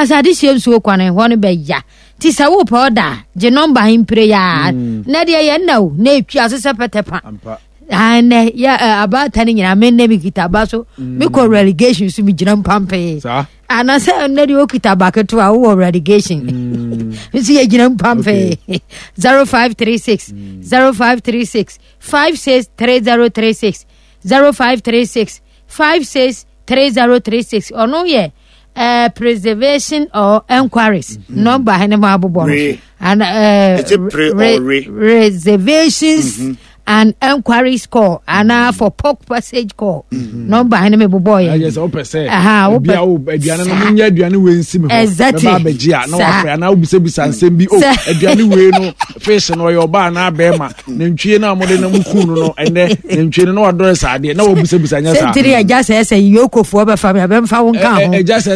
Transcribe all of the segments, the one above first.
Kasa adehyeɛ nsuo kwan hɔ no bɛya. Nti sɛ wopɛ ɔda a, gye nɔmba he mpire yaa. Nnɛ deɛ yɛ nna o, na ɛtwi ase sɛ pɛtɛ pa. Nnɛ yɛ abaata no nyinaa, me nnɛ mekita aba so, mekɔ relegation so megyina mpampee. Anasɛ nnɛ deɛ wokita aba ketewa wowɔ relegation. Nso yɛgyina mpampee. 0536 0536 563036 0536 563036 ɔno yɛ uh, preservation or enquiries mm -hmm. number hene mu abobɔ no and uh, pre re, re? reservations mm -hmm. and enquiries call anaa mm. for pork passage call mm -hmm. number hene mi bobɔ yɛ. ɛyɛ sɛ wopɛ sɛ ebi a wo aduane no mo nyɛ aduane wei nsi mi hɔ exactly bɛba abɛgye a na wafrɛ anaa wobisabisa nsɛm bi o oh, aduane wei no fish no ɔyɛ ɔbaa anaa bɛrima nantwie no a mode no mu no no ɛnɛ nantwie no na wadɔre saa adeɛ na wɔbisabisa nyɛ saa. Sɛntiri agya sɛ sɛ yokofoɔ bɛfa me abɛmfa wo nka ho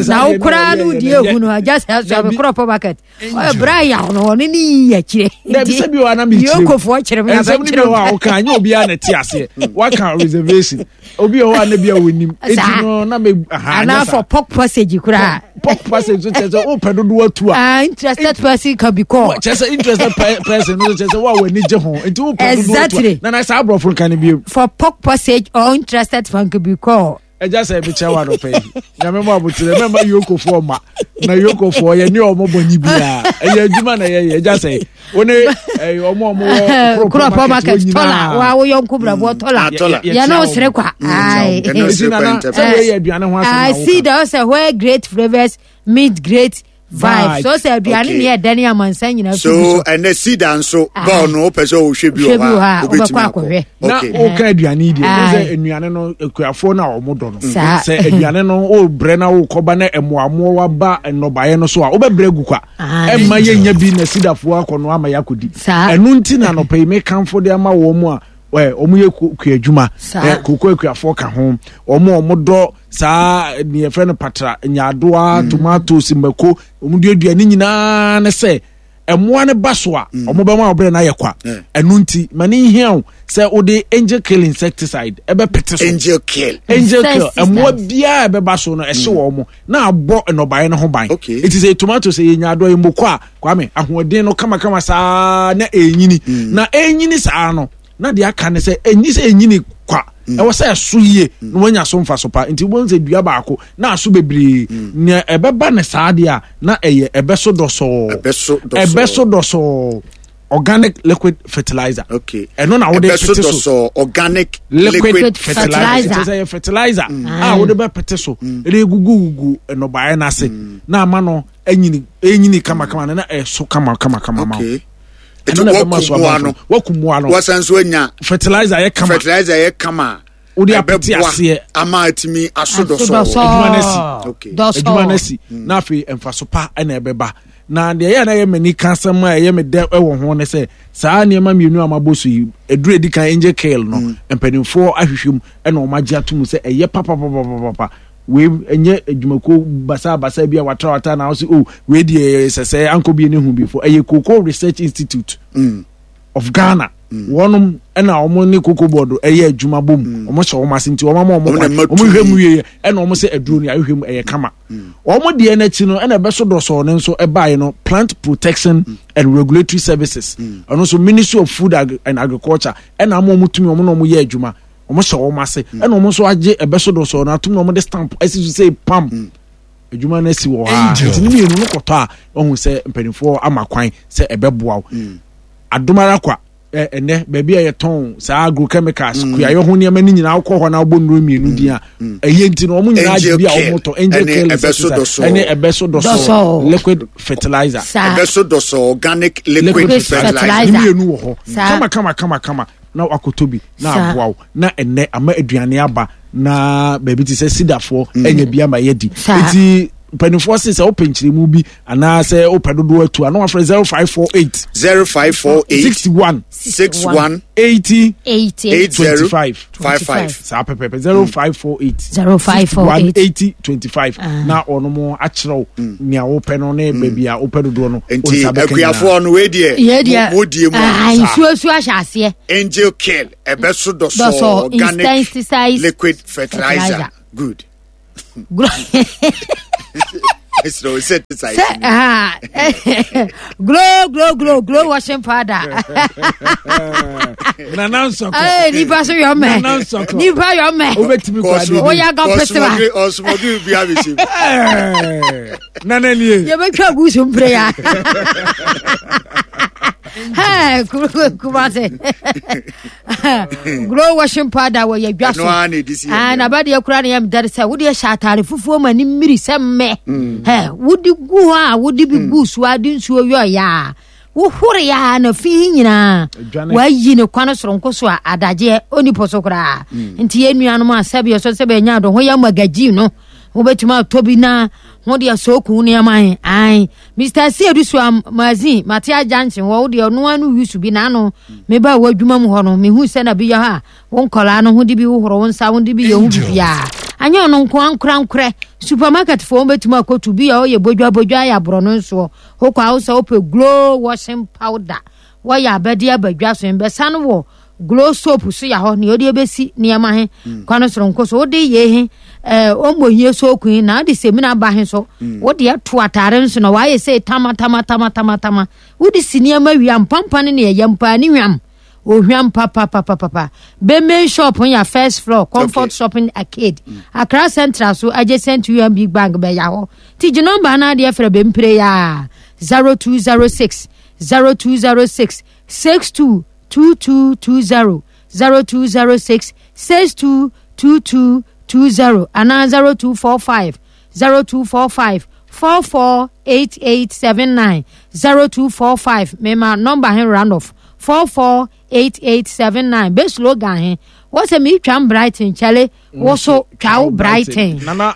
na wo koraa no wodi ehu no agya sɛ sɛ me korɔ pɔ bucket ɔyɛ bra yaw no ɔne ne yi akyire dabi sɛ bi wɔ anam kyerɛ yokofoɔ kyerɛ me nsɛm no bi wɔ a woka nyɛ obiara na ɛte aseɛ waka reservation obi wɔ hɔ a na bi a wɔnim eti no na me aha anaa for pork passage koraa pork passage so kyerɛ sɛ wopɛ dodoɔ atu a ah interested person can be called kyerɛ sɛ interested person no kyerɛ sɛ wo a w'ani gye ho nti wopɛ dodoɔ atu a na na saa aborɔfo nka no bio for pork passage or interested person can be called ɛgya sɛ mekyɛ wa nɔpɛ yi nyame mu aboterɛ mɛma yokofoɔ ma na yokofoɔ yɛne ɔmo bɔ nyi biaa ɛyɛ adwuma na yɛyɛ ɛgya sɛ wo ne ɔmo ɔmo wɔ kuropɔ market tɔla wa wo yɔnko brabɔ mm. tɔla yɛne wo sere kwa sɛ woyɛ aduane ho asɛm see da sɛ where great flavors meet great vibe so sɛ aduane ne ɛdɛ ne amansan nyinaa so ɛnɛ sida nso ah. bɔɔl no wopɛ sɛ wohwɛ bi wɔ hɔ a wobɛtumi akɔhwɛ na woka aduane yi deɛ wo sɛ nnuane no akuafoɔ no a wɔn dɔ no sɛ aduane no wobrɛ na wokɔba na mmoamoa waba nnɔbaeɛ no so a wobɛbrɛ gu kwa ɛmma yɛnya bi na sidafoɔ akɔno ama yɛakɔdi ɛno nti na anɔpa yi mekamfo de ama wɔn mu a wɔn yɛ kua adwuma koko akuafoɔ ka ho wɔn a wɔn dɔ saa deɛ yɛfrɛ no patra nyaadoa mm. tomatoes mako wɔn duadua ne nyinaa ne sɛ mmoa no ba so a mm. wɔn bɛma ɔbrɛ no ayɛ kwa ɛno nti ma ne nhia o sɛ wode angel kill insecticide ɛbɛpete so angel kill angel kill mmoa biara ɛbɛba so no ɛhye mm. wɔn mo na abɔ nnɔbaeɛ no ho ban eti sɛ tomato sɛ yɛ nyaadoa yɛ mmoko a kwame ahoɔden no kamakama saa na ɛnyini mm. na ɛnyini saa no na deɛ aka ne sɛ ɛnyi sɛ ɛnyini kwa mm. ɛwɔ sɛ ɛso yie mm. na wanya so mfa so pa nti wobɛhu sɛ dua baako na aso bebree mm. nea ɛbɛba ne saa deɛ a na ɛyɛ ɛbɛso dɔsɔɔ ɛbɛso dɔsɔɔ organic liquid fertilizer okay ɛno na wode pete so organic liquid, liquid fertilizer kyerɛ sɛ yɛ fertilizer mm. a wode bɛpete so ɛde gugugugu nnɔbaeɛ no ase na ama no anyini ɛnyini kamakama no na ɛso kama kama kama ma okay ɛno na ɛbɛma so aba no waku mmoa no wasan so anya fertilizer yɛ kama fertilizer yɛ kama wode apete aseɛ ama atumi aso dɔsɔ adwuma no asi adwuma no asi mm. na afei mfaso pa na ɛbɛba na deɛ ɛyɛ na ɛyɛ m'ani ka asɛm a ɛyɛ me dɛ wɔ ho ne sɛ saa nneɛma mmienu a mabɔ so yi aduru edi kan angel kale no mm. mpanimfoɔ ahwehwɛ mu ɛna wɔn agye ato mu sɛ ɛyɛ papapapapapa wei ɛnyɛ adwumakuo basabasa bi a watrawatra na ɔsi o oh, wei deɛ sɛsɛ ankɔ bi ne ho bi fo ɛyɛ cocoa research institute mm. of ghana mm. wɔnom ɛna wɔn ne cocoa board ɛyɛ adwuma bom mm. wɔn hyɛ wɔn ase nti wɔn ama wɔn kwan wɔn hwɛ mu yie ɛna wɔn sɛ aduro no ahwehwɛ mu ɛyɛ kama mm. wɔn deɛ n'akyi no ɛna ɛbɛso dɔsɔɔ no nso ɛbaeɛ no plant protection mm. and regulatory services ɛno nso ministry of food and agriculture ɛna ama wɔn tumi wɔn na wɔn yɛ adwuma wɔn hyɛ wɔn ase mm. ɛna wɔn nso agye ɛbɛ so dɔsɔɔ no atum na wɔn de stamp ɛsi so sɛ pam mm. adwuma no asi wɔ hɔ a nti ne mmienu no kɔtɔ a wɔn sɛ mpanimfoɔ ama kwan sɛ ɛbɛboa wo mm. adomara kwa ɛnɛ baabi a yɛtɔn saa agrochemicals kuayɔ ho nneɛma no nyinaa wokɔ hɔ na wobɔ nnuro mmienu din a ɛyɛ nti no wɔn nyinaa gye bi a wɔn tɔ angel kill insecticide ɛne ɛbɛso dɔsɔ liquid fertilizer ɛbɛso dɔsɔ organic liquid fertilizer ne mmienu wɔ hɔ kama kama kama kama na wakɔtɔ bi na aboa wo na ɛnɛ ama aduane aba na baabi te sɛ sidafoɔ mm. anya bi ama yɛadi nti mpanimfoɔ se sɛ wopɛ nkyerɛmu bi anaasɛ wopɛ dodoɔ atu a na wafrɛ 0548 0548 61 61 80 80 25 55 saa pɛpɛpɛ 0548 0548 80 25 na ɔno akyerɛw mm. nea wopɛ no ne mm. baabi a wopɛ dodoɔ no nti akuafoɔ no wei deɛ modie mu ah, nsuo su ahyɛ aseɛ angel kill ɛbɛso dɔsɔ organic liquid fertilizer good. Sɛ ah, glow glow glow glow washing powder. Nana nsɔkɔ. Ee nipa so yɔ mɛ. Nana nsɔkɔ. Nipa yɔ mɛ. Wobɛtumi kɔ adi. Woyɛ aga pɛsɛba. Ɔsomɔgi bi abɛhyɛ mu. Nana nie. Yɛbɛtwa gu so mpere ya. Hey, Kumase. Glow washing powder wɔ yɛ dwa so. Ah, na ba deɛ kura ne yam dare sɛ wode hyɛ atare fufuo ma ne mmiri sɛ mmɛ. Hey, wode gu hɔ a wode bi gu so ade nsuo yɔ ya. Wohore ya na fi nyinaa. Wayi ne kwan soronko so a adagyeɛ ɔni po so koraa. Nti yɛn nuanom a sɛbi ɛsɔ sɛ bɛnya do ho yɛ magazine no. Wobɛtumi atɔ bi na ho deɛ sooku nneɛma he ae Mr. Siedu so magazine mate agyankye hɔ wo deɛ ɔno ano yusu bi n'ano meba wɔ adwuma mu hɔ no mehu sɛ na bi yɛ hɔ a wo nkɔlaa no ho de bi wohoro wo nsa wo de bi yɛ ho bibiaa anyɛ ɔno nko ankorankorɛ supermarket foɔ wobɛtumi akɔtu bi a ɔyɛ bodwa bodwa ayɛ aborɔ no nsoɔ wokɔ a wo sɛ wopɛ glow washing powder wɔyɛ abɛde abadwa so mbɛsa no wɔ glow soap so yɛ hɔ nea ɔde ebesi nneɛma he mm. kwan soronko so wode yɛ he ɛɛ ɔmmɔ hie soap he na ɔde semina ba he so mm. wode ato ataare nso na wayɛ sɛ tama tama tama tama tama wode si nneɛma wia mpampa ne nea ɛyɛ mpaa ne hwam ohwam papapapapa bɛmɛn shop yɛ first floor comfort okay. shopping arcade mm. Accra Central so adjacent to UMB bank bɛya hɔ ti gye nɔmba no adeɛ frɛ bɛmpire yɛ a 0206 0206 62 2220 0206 62 2220 anaa 0245 0245 448879 0245 mema nɔmba he round off 448879 bɛ slogan he wɔ sɛ meetwam Brighton kyɛle wo so twa wo Brighton. Nana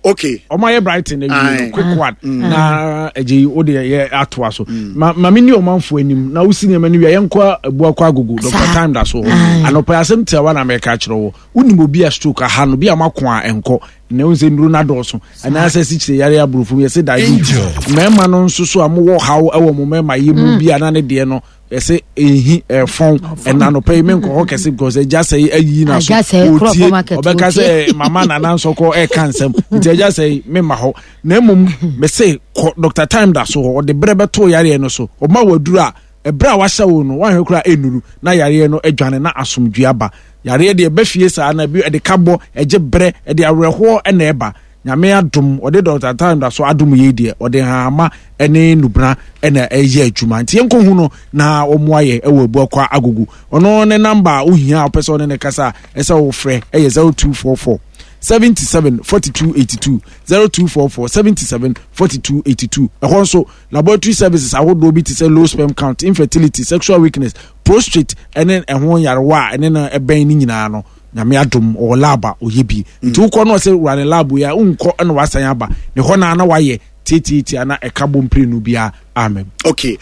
okay ɔmo ayɛ Brighton na wie no quick one mm. na ɛgye yi o de yɛ atoa so mm. ma maame ni ɔmanfo anim na wosi nneɛma no wie yɛn kɔ abu akɔ agogo Dr. Time da so hɔ anɔpɛ asɛm tiawa na mɛka akyerɛ wɔ wonim obi a stroke aha no bi a mako a ɛnkɔ na ɛhu sɛ nnuro no adɔɔso anaasɛ sikyire yare aborɔfo mu yɛsɛ diabetes mmarima no nso so a mowɔ haw wɔ mo mmarima yɛ mu mm. bi a na ne deɛ no ɛsɛ ehi ɛfɔn ɛna anɔpɛ yi menkɔ hɔ kɛse because agya sɛ yi ayi na so otie ɔbɛka sɛ mama nana nsɔkɔ ɛka nsɛm nti agya sɛ yi mema hɔ na mmom mese kɔ Dr. Time da so hɔ ɔde berɛ bɛto yareɛ no so ɔma waduru a ɛberɛ a wahyɛ wo no wanhwɛ koraa ɛnnuru na yareɛ no adwane na asomdwe aba yareɛ deɛ ɛbɛ fie saa na ebi ɛde ka bɔ ɛgye berɛ ɛde awerɛhoɔ ɛna ɛba Nyame adom ɔde Dɔkta Time da so adom yei deɛ ɔde nhahama ne nnubena na ɛyɛ adwuma nti yɛnkɔ hu no na ɔmmoa yɛ ɛwɔ Abuakwa Agogo ɔno ne namba a wohia a wopɛ sɛ ɔne ne kasa a ɛsɛ wofrɛ ɛyɛ 0244 77 42 82 0244 77 42 82 ɛhɔ nso laboratory services ahodoɔ bi te sɛ low sperm count infertility sexual weakness prostrate ɛne ɛho nyarewa a ɛne no ɛbɛn ne nyinaa no Nyame adom ɔwɔ lab a ɔyɛ bi nti wokɔ no ɔsɛ wura ne lab yi a wonkɔ ɛna wasan aba ne hɔ na na wayɛ tiatiatia na ɛka bɔ mprenu biara amen. Okay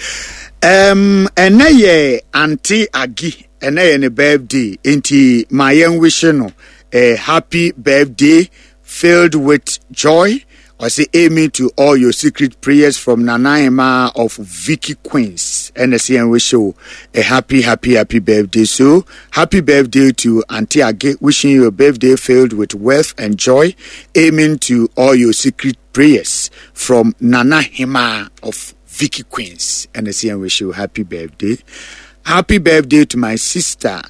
um, ɛnɛ yɛ ante agi ɛnɛ yɛ ne birthday nti ma yɛn wihye no a happy birthday filled with joy Ɔse amen to all your secret prayers from Nana Ahemaa of Vicky Queens ɛna ɛsɛ yɛn wish wo a happy happy happy birthday so happy birthday to Auntie Age wishing you a birthday filled with wealth and joy amen to all your secret prayers from Nana Ahemaa of Vicky Queens ɛna ɛsɛ yɛn wish you happy birthday happy birthday to my sister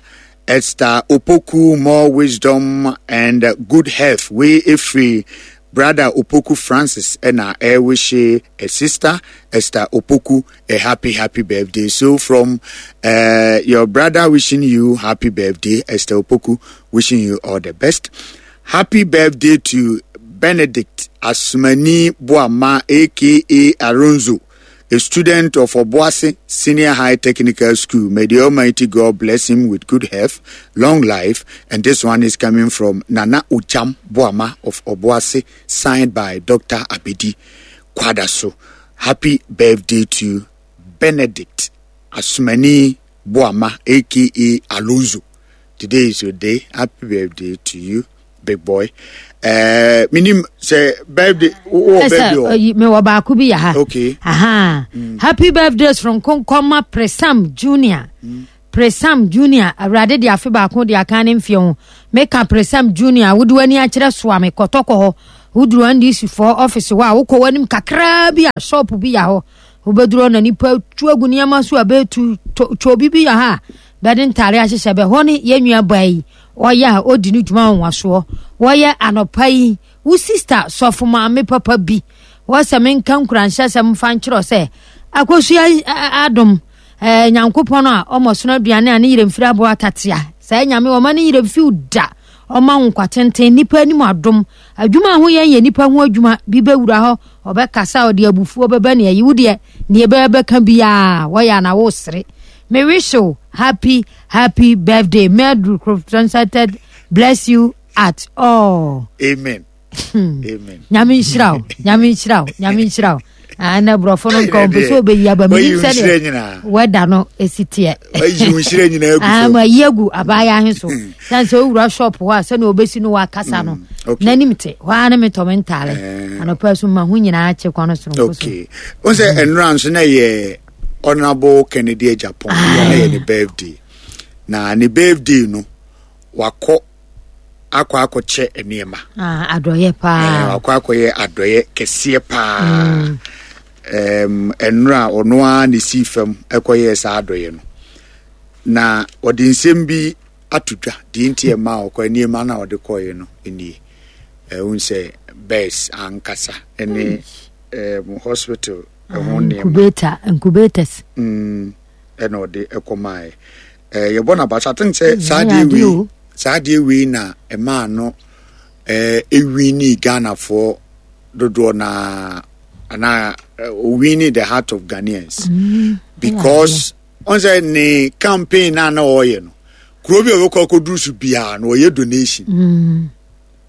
Esther Opoku more wisdom and good health wei efiri Brother Opoku Francis ɛna ɛrewishe a sister Esther Opoku a happy happy birthday so from uh, your brother wishing you happy birthday Esther Opoku wishing you all the best happy birthday to Benedict Asumani Boama aka Aronzo a student of Obuasi Senior High Technical School. May the Almighty God bless him with good health, long life. And this one is coming from Nana Ujam Boama of Obuasi, signed by Dr. Abedi Kwadaso. Happy birthday to Benedict Asumani Boama, aka Alonso. Today is your day. Happy birthday to you. big boy ɛɛ eh, minim sɛ birthday wɔ birthday wɔ. ɛsɛ mewɔ baako bi yɛ ha. okay aha mm. happy birthday soronko nkɔma presam junior. Mm. Presam Junior, Awurade de afe baako de aka ne mfeɛ ho. Meka Presam Junior, wode w'ani akyerɛ soa me kɔtɔkɔ hɔ. Woduru NDC foɔ ɔfise hɔ a, wokɔ w'anim kakraa bi a shop bi yɛ hɔ. Wobɛduru hɔ na nipa tu agu nneɛma so a bɛtu twɛ bi yɛ ha a bɛde ntaare ahyehyɛ bɛ hɔ ne yɛn nua baa yi ɔyɛ a ɔdi ne dwuma nwanwasoɔ. Wɔyɛ anɔpa yi wo sista sɔfo maame papa bi wɔsɛ menka nkuranhyɛsɛm mfa nkyerɛ sɛ akosua adom eh, nyankopɔn a ɔmɔ sono aduane a ne yerɛ mfiri aboa atatea saa nyame ɔma ne yerɛ mfiw da ɔma wo nkwa tenten nipa anim adom adwuma a ho yɛn yɛ nipa ho adwuma bi bɛwura hɔ ɔbɛkasa ɔde abufuo bɛbɛ ne ayi wo deɛ neɛ ɛbɛyɛ bɛka biara wɔyɛ ana wo sere me wish you happy happy birthday may the bless you at all amen amen nyame nhyira wo nyame nhyira wo nyame nhyira wo ah, na borɔfo no nka ɔmpɛ sɛ ɔbɛyi aba menim sɛdeɛ wɛda no ɛsi teɛ ah, mayi agu abaayɛ ahe so sane sɛ wowura shop hɔ a sɛne ɔbɛsi no wakasa no mm, n'anim te hɔ a ne metɔ me ntaale eh. anɔpa so ma ho nyinaa kye kwan soronko so wo sɛ ɛnora nso na ɛyɛ honorable Kennedy Agyapong na ɛyɛ ne birthday na ne birthday no wakɔ akɔ akɔkyɛ nneɛma. Ah, adɔyɛ paa. Eh, wakɔ akɔyɛ adɔyɛ kɛseɛ paa. Mm. Um, ɛnora ɔno ara na esi fam ɛkɔyɛɛ saa adɔyɛ no. Na ɔde nsɛm bi ato dwa deɛ nti ɛma ɔkɔ nneɛma no a ɔde kɔeɛ no nie. Ɛhu sɛ bɛs ankasa ɛne um, hospital ɛho ah, nneɛma. Incubator, incubators. Mm, ɛna ɔde ɛkɔmaeɛ. Eh, yɛbɔ no aba so. I think sɛ saa adeɛ wei saa adeɛ wei na ɛmaa no eh, ɛwini Ghanafoɔ dodoɔ na anaa owini eh, the heart of Ghanaians mm, because ɔn sɛ ne campaign na na ɔyɛ no kuro bi a ɔbɛkɔ akɔduru so biara na ɔyɛ donation. Mm.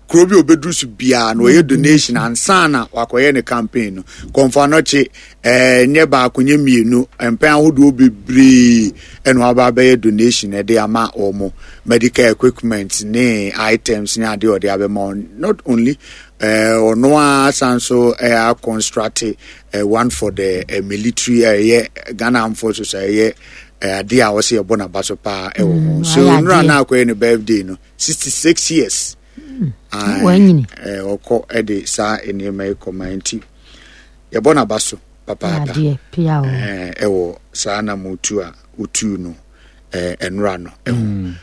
Kuro bi a ɔbɛduru so biara no ɔyɛ donation ansa na wakɔyɛ ne campaign no. Kɔmfo Anɔkye ɛɛ nyɛ baako nyɛ mmienu mpɛn ahodoɔ bebree ɛna waba abɛyɛ donation ɛde ama wɔn medical equipment ne items ne adeɛ ɔde abɛma wɔn not only ɛɛ ɔno ara san so ɛɛ akɔnstrate ɛɛ one for the ɛɛ military ɛyɛ Ghana Armed Forces ɛyɛ ɛɛ adeɛ a wɔsɛ yɛbɔ n'aba so paa ɛwɔ ho mm, so nnura na akɔyɛ ne birthday no. 66 years wanyini ɔkɔ de saa nneɛma yi kɔma nti yɛbɔ n'aba so papaapa ɛwɔ saa na motu a wotu no ɛnora no ɛho mm.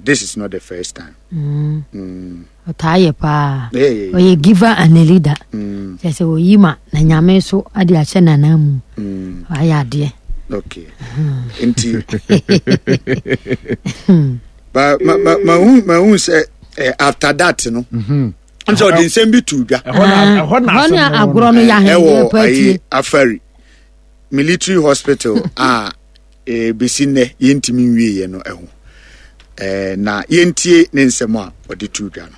this is not the first time mm. Mm. ɔtaa yɛ paa ɔyɛ giver and a leader kyɛ sɛ ɔyi ma na nyame so ade ahyɛ nana mu wayɛ adeɛ okay nti ba ma ma ma hu ma hu sɛ eh, after that no mhm. n sɛ ɔde nsɛm bi tu dwa ɛhɔ na agorɔ no yɛ ɛwɔ ayi afari military hospital a eh, besi nnɛ yɛntumi nwieɛ no ɛho eh, na yɛntie ne nsɛm a ɔde tu dwa no.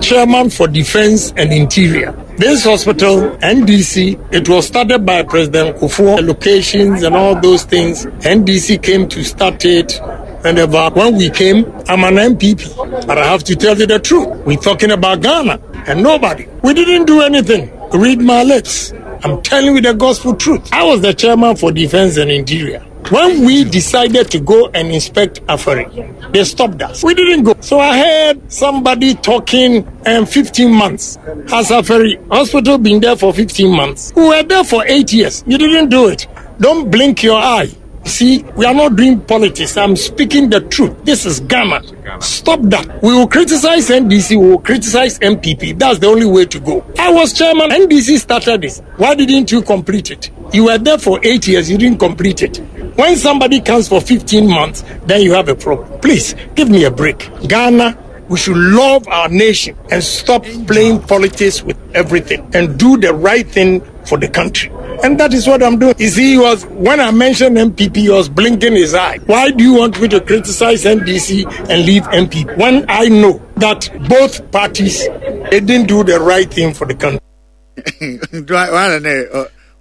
Chairman for Defense and Interior. This hospital, NDC, it was started by President Kufuor, locations and all those things. NDC came to start it. And when we came, I'm an MPP. But I have to tell you the truth. We're talking about Ghana and nobody. We didn't do anything. Read my lips. I'm telling you the gospel truth. I was the chairman for Defense and Interior. When we decided to go and inspect Afari, they stopped us. We didn't go. So I heard somebody talking and 15 months. Has Afari hospital been there for 15 months? We were there for eight years. You didn't do it. Don't blink your eye. See, we are not doing politics. I'm speaking the truth. This is Ghana. Stop that. We will criticize NDC, we will criticize MPP. That's the only way to go. I was chairman. NDC started this. Why didn't you complete it? You were there for eight years, you didn't complete it. When somebody comes for 15 months, then you have a problem. Please give me a break. Ghana, we should love our nation and stop playing politics with everything and do the right thing for the country. And that is what I'm doing. You see, he was when I mentioned MPP, he was blinking his eye. Why do you want me to criticize NDC and leave MPP when I know that both parties they didn't do the right thing for the country?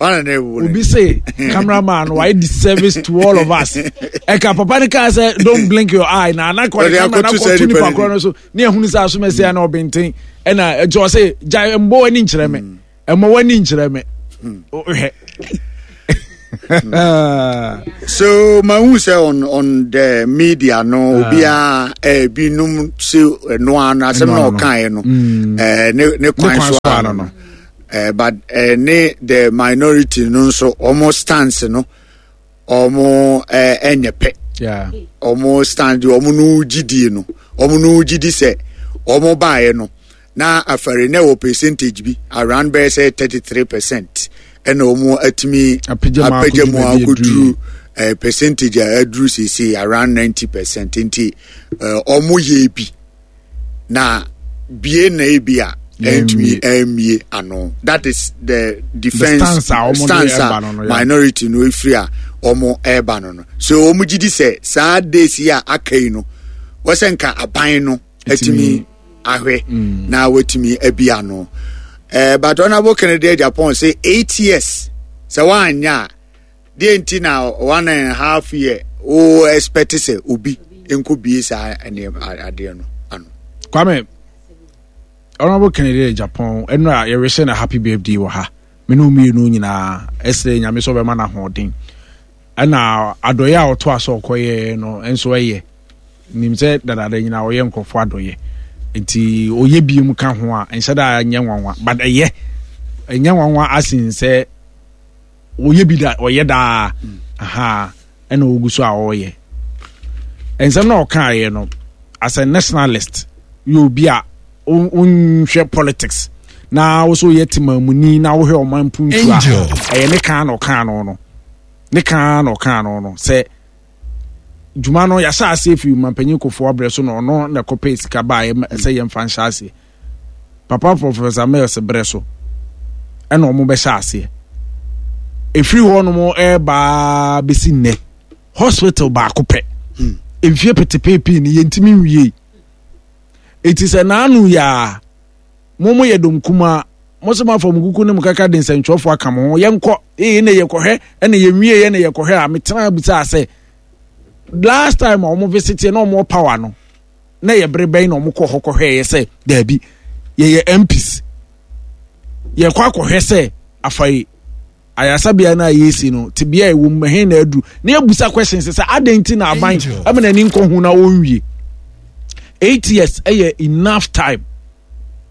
Obi say cameraman why the service to all of us ɛka papa ne kaa sɛ don't blink your eye na ana kɔ ne camera na kɔ tu nipa korɔ no so ne ehunu sɛ asomɛsɛ ɛna ɔbɛnten ɛna ɛkyɛ ɔsɛ gya mbɔ w'ani nkyerɛ me ɛmɔ w'ani nkyerɛ me hwɛ. So mahu sɛ on the media no ah. obiara ebinom se ɛno ano asɛm na ɔkaeɛ no mm. ne kwan so ano no but ne the minority no nso wɔn stance no wɔn ɛnyɛ pɛ wɔn stand wɔn no gyidie no wɔn no gyidi sɛ wɔn baeɛ no na afɛre na ɛwɔ percentage bi around bɛyɛ sɛ 33% ɛna wɔn atumi apagya mu akɔduru eh, percentage a aduru seesei around 90% nti eh, wɔn yɛ bi na bie na ebi a ɛntumi ɛmmie ano that is the defence stance a minority no efiri a wɔn ɛreba no no so wɔn gyi di sɛ saa days yi a aka yi no wɔsɛ nka aban no atumi ahwɛ mm. na watumi abi ano eh, but honorable Kennedy Agyapong say 8 years sɛ woanyɛ a deɛ nti na 1.5 year wo expect sɛ obi nkɔ bie saa adeɛ no ano. Kwame, Honorable Kennedy Agyapong ɛno a yɛrehyɛ no happy birthday wɔ ha me ne mmienu nyinaa ɛsrɛ Nyame sɛ ɔbɛma no ahoɔden ɛna adɔeɛ a ɔto aso ɔkɔyɛ no nso ɛyɛ nim sɛ dadaada nyinaa ɔyɛ nkurɔfoɔ adɔeɛ nti ɔyɛ biem ka ho a nhyɛ da nyɛ nwanwa but ɛyɛ ɛnyɛ nwanwa asen sɛ ɔyɛ bi da ɔyɛ daa aha ɛna ɔgu so a ɔreyɛ nsɛm na ɔkaeɛ no as a nationalist yɛ obi a wonhwɛ politics na wo so yɛ temamuni na wohwɛ ɔman mpuntu a ɛyɛ ne kan na ɔkaa no no ne kan na ɔkaa no no sɛ dwuma no yɛahyɛ aseɛ firi mampanyin kofoɔ abrɛ so na ɔno na ɛkɔpɛ sika baeɛ sɛ yɛmfa nhyɛ aseɛ papa Professor Mills berɛ so ɛna wɔn bɛhyɛ aseɛ ɛfiri hɔ nom ɛbaa bɛsi nnɛ hospital baako pɛ mfie petepeepii no yɛntumi nwie eti sɛ n'ano yɛ a mo mo yɛ dɔm kumaa mo sɛ mo afa mo kuku ne mo kaka de nsɛntwerɛfoɔ aka mo ho yɛnkɔ ee na yɛkɔhwɛ ɛna yɛnwie yɛ na yɛkɔhwɛ a metena bisa sɛ last time a wɔn visit yɛ na wɔn power no na yɛ bere bɛn na wɔn kɔ hɔ kɔhwɛ yɛ sɛ daabi yɛyɛ MPs yɛkɔ akɔhwɛ sɛ afa yi ayaresabea no a yɛresi no tebea a ɛwɔ mu ɛhe na aduru na yɛbusa questions sɛ adɛn nti na aban ɛma n'ani nkɔ ho na ɔnwie 8 years ɛyɛ enough time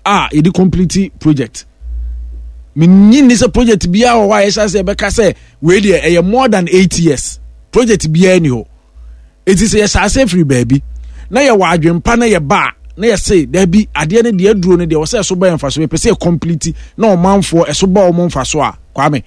a yɛde complete project menyi nni sɛ project biara wɔ hɔ a yɛhyɛ sɛ yɛbɛka sɛ wei deɛ ɛyɛ more than 8 years project biara ni hɔ. Enti sɛ yɛhyɛ ase firi baabi na yɛwɔ adwempa na yɛba a na yɛse daabi adeɛ no deɛ aduro no deɛ wɔsɛ ɛso ba yɛn mfaso yɛpɛ sɛ yɛ complete na ɔmanfoɔ ɛso ba wɔn mfaso a Kwame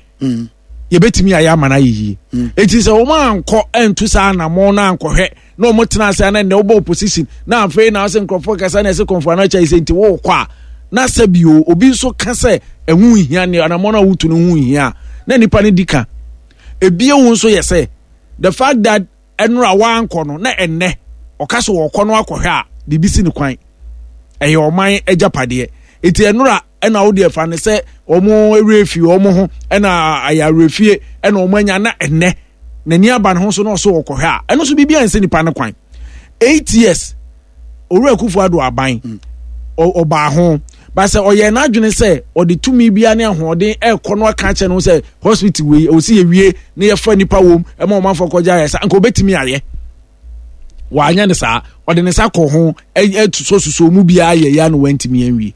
yɛbɛtumi ayɛ ama no ayɛ yie. Enti sɛ wɔn ankɔ antu saa anammɔn no ankɔhwɛ na wɔn tena ase ana nnɛ wobɔ opposition na afei na ɔsɛ nkurɔfoɔ kasa na ɛsɛ kɔnfoɔ ano akyɛ sɛ nti wɔrekɔ a na sɛ bio obi nso ka sɛ ɛho nhia ne anammɔn a wotu no ho nhia na nipa no di ka. Ebie wo nso yɛ sɛ the fact that ɛnora wankɔ no na ɛnnɛ ɔka so wɔkɔ no akɔhwɛ a biribi si ne kwan ɛyɛ ɔman agyapadeɛ eti ɛnora ɛna wo deɛ fa ne sɛ wɔn werɛ fi wɔn ho ɛna ayɛ awerɛfie ɛna wɔn anya na ɛnnɛ n'ani aba ne ho so na ɔso wɔkɔhwɛ a ɛno nso biribi ansi nipa ne kwan 8 years Owura Akufo Addo aban ɔbaa ho ba sɛ ɔyɛ n'adwene sɛ ɔde tumi bia ne ahoɔden ɛrekɔ no aka akyɛ no sɛ hospital wei ɔsi yɛwie na yɛfa nipa wom ɛma ɔmanfoɔ kɔgye ayɛ sa nka ɔbɛtumi ayɛ wanyɛ ne saa ɔde ne nsa kɔ ho ɛsososo mu biara yɛ ya no wantumi anwie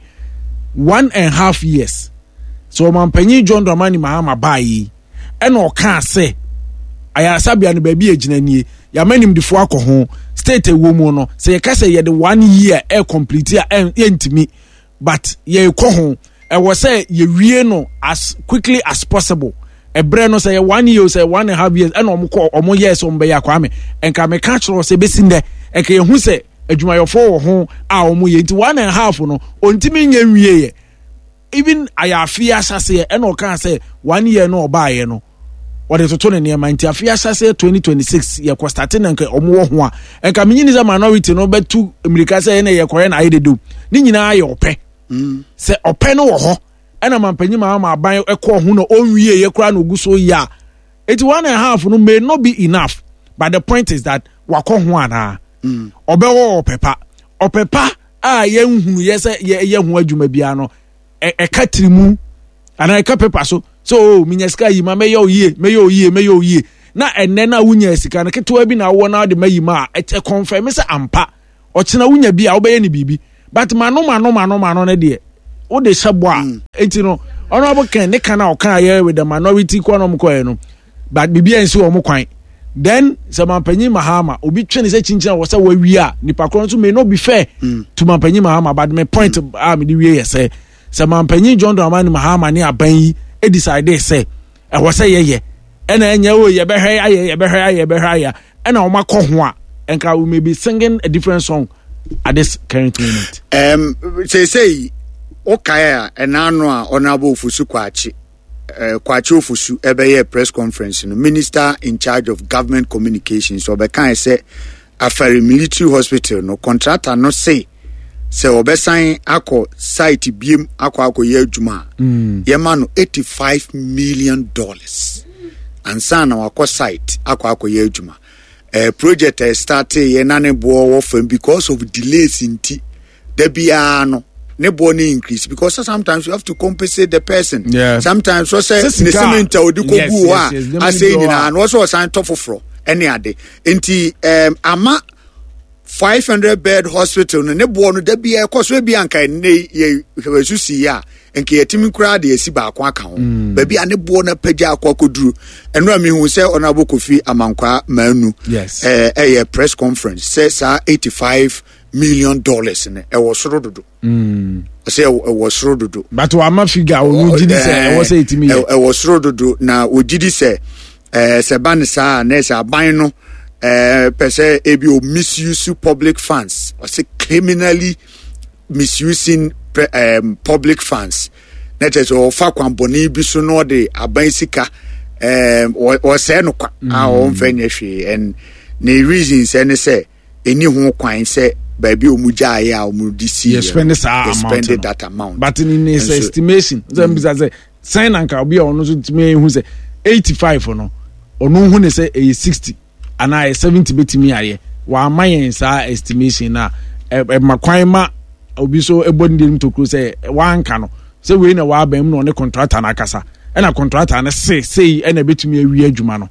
1.5 years so ɔmanpanyin John Dramani Mahama baa yi ɛna ɔkaa sɛ ayaresabea no baabi a egyina nie yɛama nimdefoɔ akɔ ho state ɛwɔ mu no sɛ yɛka sɛ yɛde one year ɛ complete a yɛntumi but yɛrekɔ ho ɛwɔ sɛ yɛwie no as quickly as possible ɛbrɛ no sɛ yɛ one year sɛ 1.5 years ɛna ɔmo kɔ ɔmo yɛ sɛ ɔmo bɛyɛ akwame nka meka kyerɛ sɛ bɛsi nnɛ ɛka yɛhu sɛ adwumayɛfoɔ wɔ ho a ɔmo yɛ nti 1.5 no ɔntumi nyɛ nwie yɛ even ayɛ afe ahyɛseɛ ɛna ɔkaa sɛ one year no ɔbaayɛ no wɔde toto ne nneɛma nti afe ahyɛseɛ 2026 yɛkɔ start na nka ɔmo wɔ ho a nka menyi ne sɛ minority no bɛtu mmirika sɛ ɛna yɛkɔyɛ na ayɛ dedew ne nyinaa yɛ ɔpɛ sɛ ɔpɛ no wɔ hɔ ɛna mampanyin maa ma aban ɛkɔɔ ho na ɔnwie yɛ koraa na ogu so yɛ a eti 1.5 no may not be enough but the point is that wakɔ ho anaa ɔbɛwɔ ɔpɛ pa ɔpɛ pa a yɛnhunu yɛ sɛ yɛyɛ ho adwuma biara no ɛka tirimu anaa ɛka paper so. So oh, menya sika yi ma mɛyɛ oyie, mɛyɛ oyie, mɛyɛ oyie. Na ɛnɛ na wonya sika no ketewa bi na wowɔ na wode ma yi ma a, ɛkyɛ confirm sɛ ampa. Ɔkyena wonya bi a wobɛyɛ ne biribi. But mano mano mano mano no deɛ wode hyɛ bɔ a. Mm. Enti no honorable Ken ne kan a ɔka yɛ with the minority kɔ na ɔmo kɔɛ no. But biribi ansi wɔn kwan. Then sɛ mampanyin Mahama obi twe ne sɛ kyinkyin a wɔ sɛ wawie a nipa korɔ nso may not be fair mm. to mampanyin Mahama but my point mm. a mede wie yɛ sɛ sɛ mampanyin John Dramani Mahama ne aban yi decide sɛ ɛwɔ sɛ yɛyɛ ɛna ɛnyɛ o yɛbɛhwɛ ayɛ yɛbɛhwɛ ayɛ yɛbɛhwɛ ayɛ ɛna wɔn akɔ ho a nka we may be singing a different song at this current moment. Um, seesei wokae a ɛna ano a Honorable Ofosu Kwakye eh, Kwakye Ofosu ɛbɛyɛɛ press conference no, Minister in charge of government communications ɔbɛkae sɛ Afari Military Hospital no contractor no se sɛ ɔbɛsan akɔ site biem akɔ akɔyɛ adwuma a mm. yɛma no 85 million dollars ansa na wakɔ site akɔ akɔyɛ adwuma eh, project a ɛstartee yɛ na ne boɔ wɔ fam because of delays nti da biara no ne boɔ ne increase because sometimes you have to compensate the person. Yeah. Sometimes so sɛ ne cement a ɔde kɔ gu hɔ a asɛ nyinaa na ɔsɛ ɔsan tɔ foforɔ ɛne ade nti um, ama 500 bed hospital no ne boɔ no da biara ɛkɔ so ebi anka ne yɛ hwɛsu si yɛ a nka yɛtumi koraa de asi baako aka ho mm. baabi a ne boɔ no apagya akɔ akɔduru ɛno a mehu sɛ Honorable Kofi Amankwaa Manu ɛyɛ press conference sɛ saa 85 million dollars no ɛwɔ soro dodo mm. ɔsɛ ɛwɔ soro dodo but wama figure ɔno gyi di sɛ ɛwɔ sɛ ɛtumi yɛ ɛwɔ soro dodo na ɔgyi di sɛ ɛɛ sɛ ba ne saa na ɛsɛ aban no ɛɛ pɛ sɛ ebi o misuse public funds ɔsɛ criminally misusing um, public funds na kyerɛ sɛ ɔfa kwan bɔne bi so na ɔde aban sika ɛɛ ɔsɛɛ no kwa a ɔnfɛ nyɛ hwee and ne reasons ɛne sɛ. ɛni ho kwan sɛ baabi a wɔn gyaeɛ a wɔn de si yɛ spend saa amount no that amount but in his estimation sɛ mbisa sɛ sɛn na nka obi a ɔno nso tumi ehu sɛ 85 no ɔno hu ne sɛ ɛyɛ 60 anaa ɛyɛ 70 betumi ayɛ wama yɛn saa estimation na ɛma kwan ma obi so ɛbɔ ne deɛ tokuro sɛ wanka no sɛ wei na wabɛn mu na ɔne contractor no akasa ɛna contractor no se sei ɛna ebetumi awie adwuma no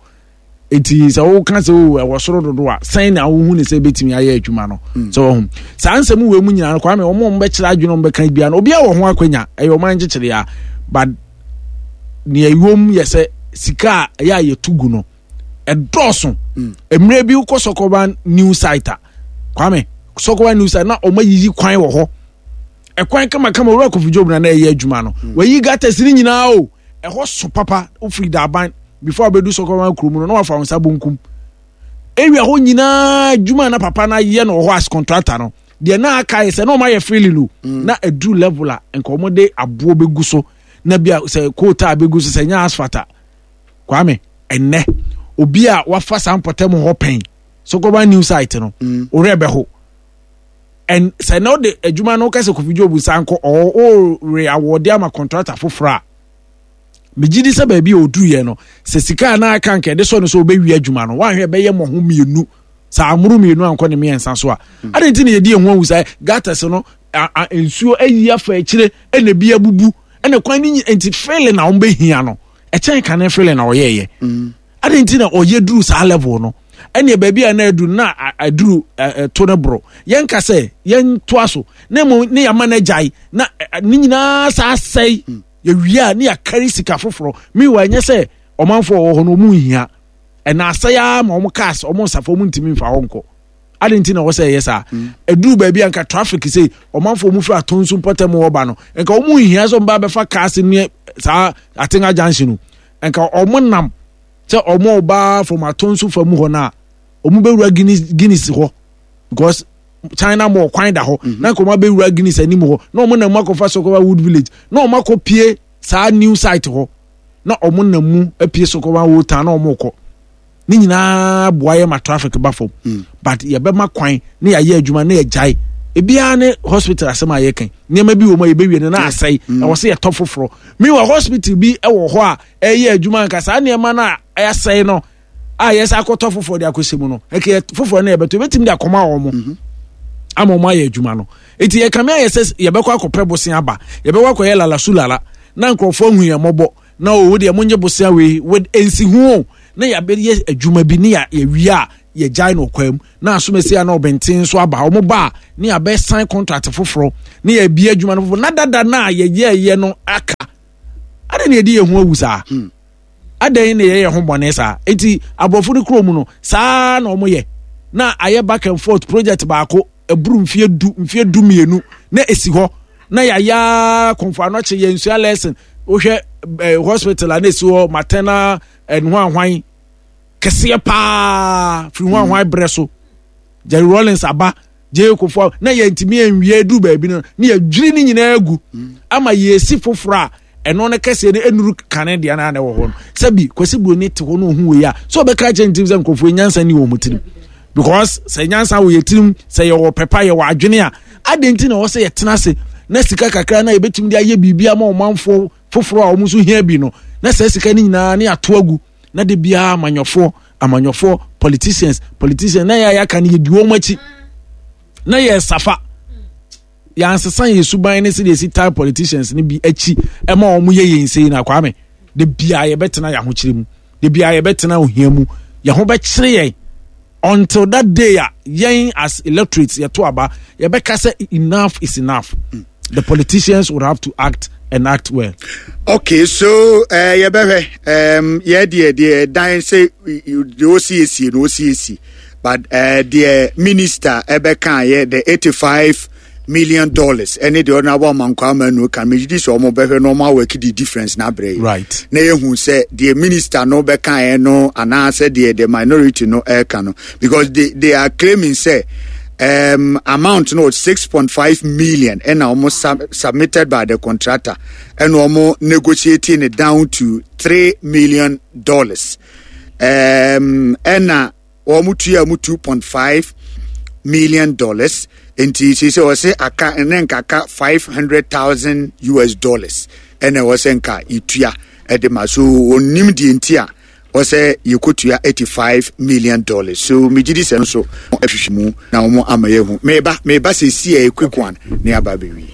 Eti sɛ woka sɛ o ɛwɔ soro dodo a sɛn na wohu ne sɛ ebetumi ayɛ adwuma no mm. sɛ wɔho saa nsɛm wei mu nyinaa no kwame wɔn a wɔbɛkyerɛ adwene wɔn bɛka bia no obiara wɔ ho akwanya ɛyɛ ɔman nkyekyere a but nea ɛwom yɛ sɛ sika a ɛyɛ a yɛtu gu no ɛdɔɔso mm. mmerɛ bi wokɔ sɔkɔba new site a kwame sɔkɔba new site na wɔn ayiyi kwan wɔ hɔ ɛkwan kamakama owura kofi job na na ɛyɛ adwuma no mm. wɔayi gutters ne nyinaa o ɛhɔ so papa wofiri daaban before abɛdu sɔkɔma kurom no na wafa wo nsa bonkum area hɔ nyinaa adwuma na papa no ayɛ no wɔ hɔ as contractor no deɛ na aka yɛ sɛ na ɔma yɛ freely no mm. na aduru level a nka wɔn de aboɔ bɛgu so na bia sɛ koota bɛgu so sɛ nyɛ asphalt a kwame ɛnɛ obi a wafa saa mpɔtam hɔ pɛn sɔkɔba new site no mm. ɔwerɛ bɛho ɛn sɛ na ɔde adwuma no kɛsɛ kofi job nsa nkɔ ɔre awɔde ama contractor foforɔ a megye di sɛ baabi a ɔduruiɛ no sɛ sika a na aka nka ɛde sɔ no sɛ ɔbɛwie adwuma no woanhwɛ ɛbɛyɛ mmɔho mmienu sɛ amoro mmienu ankɔ ne mmiɛnsa so a hmm. adɛn nti na yɛdi ɛho ahu sɛ gutters no nsuo ayi afa akyire ɛna ebi abubu ɛna kwan no nti fele na wɔbɛhia no ɛkyɛn kane fele na ɔyɛɛyɛ hmm. adɛn nti na ɔyɛ duru saa level no ɛneɛ baabi a na aduru na aduru ɛto no boro yɛnka sɛ yɛntoa so na mmom ne yɛama no agyae na ne nyinaa saa sɛe hmm. Yɛwie a ne yɛakari sika foforɔ. Meanwhile ɛnyɛ sɛ ɔmanfoɔ wɔ hɔ no wɔn nhia. Ɛna asɛe ara ma wɔn cars wɔn nsafo wɔn ntumi nfa hɔ nkɔ. Adi nti na ɛwɔ sɛ ɛyɛ saa. Mm. Ɛduru baabi a nka traffic sei ɔmanfoɔ wɔn firi Atonsu mpɔtam wɔ ba no nka wɔn nhia sɛ wɔn ba bɛfa cars ne saa Atenga junction no. Nka wɔn nam sɛ wɔn ba from Atonsu fa mu hɔ no a wɔn bɛwura Guinness Guinness hɔ because China mall kwan da hɔ mhm. na nka wɔn abɛwura Guinness anim hɔ na wɔn nam mu akɔfa Sokoba Wood Village na wɔn akɔ pie saa new site hɔ na wɔn nam mu apue Sokoba Old Town na wɔn kɔ ne nyinaa boa yɛ ma traffic ba fam mm. but yɛbɛma kwan ne yɛayɛ adwuma ne yɛgyae ebiara ne hospital asɛm a yɛka nneɛma bi wɔ mu a yɛbɛwie no na asɛe mm. ɛwɔ sɛ yɛtɔ foforɔ meanwhile hospital bi wɔ hɔ a ɛyɛ adwuma nka saa nneɛma no a ɛasɛe no a yɛsɛ akɔtɔ foforɔ de akɔhyɛ mu no ɛkɛ foforɔ no yɛbɛtɔ yɛbɛtumi de akɔma wɔn mo mhm. ama wɔn ayɛ adwuma no eti yɛkame ayɛ sɛ yɛbɛkɔ akɔpɛ bosen aba yɛbɛkɔ akɔyɛ lala su lala na nkurɔfoɔ ahu yɛn mmɔbɔ. Na o deɛ monyɛ bosea wei with nsiho o, na yɛabɛyɛ adwuma bi ne yɛwie a yɛgyae no ɔkwan mu na asomasi a na ɔbɛnten nso aba wɔn ba a ne yɛabɛsan contract foforɔ ne yɛabie adwuma no foforɔ na dada no a yɛyɛɛyɛ no aka adɛn na yɛde yɛn ho awu saa adɛn na yɛyɛ ho bɔne saa enti aborɔfo no kurom no saa na wɔyɛ na ayɛ back and forth project baako ɛboro mfeɛ du mfeɛ 12 na ɛsi hɔ na yɛayɛ kɔmfo anɔkye yɛn nsua lesson wohwɛ eh, hospital a na ɛsi hɔ maternal ɛno ahwan kɛseɛ paa firi ho ahwan berɛ so Jerry Rawlings aba J.A. Kufuor na yɛntumi nwie duru baabi no na yɛdwiri ne nyinaa agu ama yɛsi foforɔ a ɛno no kɛseɛ no ɛnuru kane deɛ no a na ɛwɔ hɔ no sɛbi Kwasi Buroni te hɔ no ɔhu wei a sɛ ɔbɛka kyerɛ ne tirim sɛ nkurɔfoɔ nyansa ni wɔn tirim because sɛ nyansa wɔ yɛ tirim sɛ yɛwɔ pɛpa yɛwɔ adwene a adɛn nti na ɛwɔ sɛ yɛtena ase na sika kakra na yɛbɛtumi de ayɛ biribi ama ɔmanfoɔ foforɔ a wɔn nso hia bi no na saa sika no nyinaa ne ato agu na de biara amanyɔfoɔ amanyɔfoɔ politicians politicians na yɛ a yɛaka no yɛdi wɔn akyi na yɛ safa yɛansesa yɛ suban ne sɛdeɛ ɛsi tan politicians no bi akyi ɛma wɔn yɛ yɛn sei na kwame de biara yɛbɛtena yɛn ahokyere mu de biara yɛbɛtena ohia mu yɛn ho bɛkyere yɛn until that day a yɛn as electorates yɛto aba yɛbɛka sɛ enough is enough the politicians would have to act and act well. Okay, so uh, yɛbɛhwɛ um, yɛ deɛ deɛ dan sɛ deɛ ɔsiesie no ɔsiesie but uh, deɛ minister ɛbɛka yɛ the $85 million ɛne deɛ ɔno abɔ amankwa ama nu kan megye di sɛ ɔmo bɛhwɛ na ɔmo awɔki di difference na abrɛ yi na yɛhu sɛ deɛ minister no bɛka yɛ no anaasɛ deɛ the minority no ɛka no, because they are claiming sɛ amount no was 6.5 million ɛna ɔmo submitted by the contractor ɛna ɔmo negotiating it down to $3 million ɛna wɔn tua mu $2.5 million, nti sisi wɔsɛ aka ne nkaka US$500,000 ɛna wɔsɛ nka yɛtua ɛde ma so. Onim deɛ nti a wɔsɛ yɛkɔtua $85 million, so megye di sɛ nso ahwehwɛ mu na wɔn ama yɛhu. Meba meba sɛsi a quick one ne aba abɛwie.